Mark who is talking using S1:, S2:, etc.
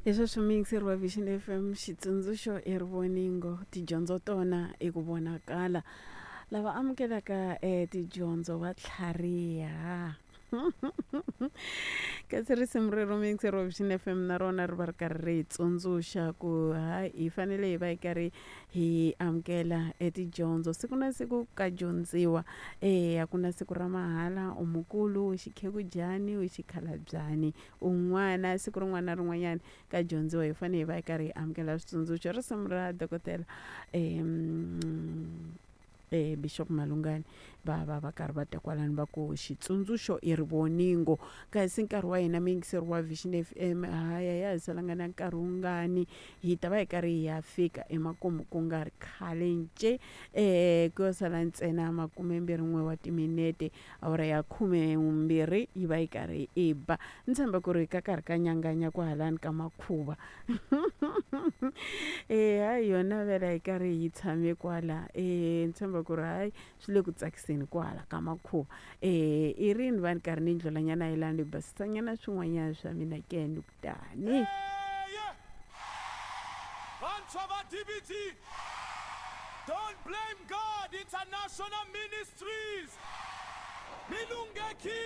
S1: Hi sweswo muyingiseri wa Vision FM xitsundzuxo i rivoningo tidyondzo tona i ku vonakala lava amukelaka tidyondzo va tlhariha kasi risimu rero muyingiseri wa Vision FM na rona ri va ri karhi ri hi tsundzuxa ku ha hi fanele hi va hi karhi hi amukela etidyondzo siku na siku ka dyondziwa a ku na siku ra mahala u mukulu u xikhekujani u xikhalabyani un'wana siku rin'wana na rin'wanyana ka dyondziwa hi fanele hi va hi karhi hi amukela switsundzuxo risimu ra dokodela um Bishop Malungani va va va karhi va ta kwalano va ku xitsundzuxo i rivoningo kasi nkarhi wa hina muyingiseri wa Vision FM haya ya ha salanga na nkarhi wungani hi ta va hi karhi hi ya fika emakumu ku nga ri khale nce ku yo sala ntsena makumembirhi n'we wa timinete awara ya khumembirhi yi va yi karhi yi ba ni tshemba ku ri ka karhi ka nyanganya kwahalani ka makhuva e hayi yona vela yi karhi yi tshame kwala e ni tshemba ku ri hayi swi le ku tsakiseni kwahala ka makhuva e i rini va ni karhi ni ndlulanyana yelani ni basisanyana swin'wanyana swa mina ke ni ku tani
S2: Vantshwa va DBT, Don't Blame God International Ministries, mi lunghekile.